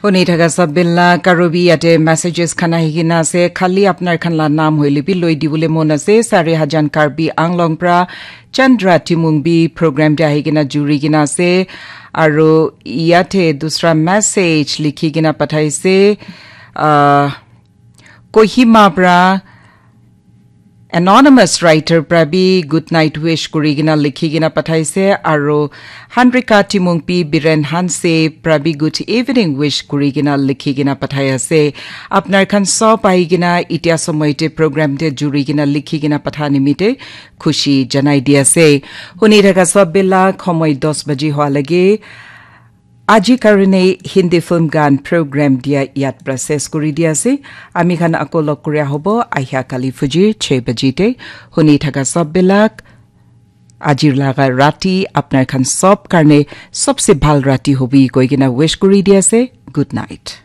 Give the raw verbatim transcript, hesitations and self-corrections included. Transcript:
Huni thaka sab bila karubi yate messages khan ahi kena ase. Khali apnar khan la naam hoile bi loi dibole mon ase. Sari Hajan Karbi Anglong pra Chandra Timung bi program te ahi kena juri kena ase. Aru yate dusra message likhi kena pathaise. Ah, Kohima pra anonymous writer pra bi good night wish kuri kena likhi kena pathaise, aru Handrika Timungpi Biren Hanse pra bi good evening wish kuri kena likhi kena pathai ase. Apnar khan sob ahi kena itia somoy te program te juri kena likhi kena patha nimite khushi janai di ase. Huni thaka sob bila khomoi dos baji hoa lage. Aji karone Hindi film gan program dia yat process kuri dia ase. Ami khan ako log kuri ahobo ahia kali fujir chhe baji te. Huni thaka sob bilak ajir laga rati apnar khan sob karne sobse bhal rati hobi koi kena wish kuri dia ase. Good night.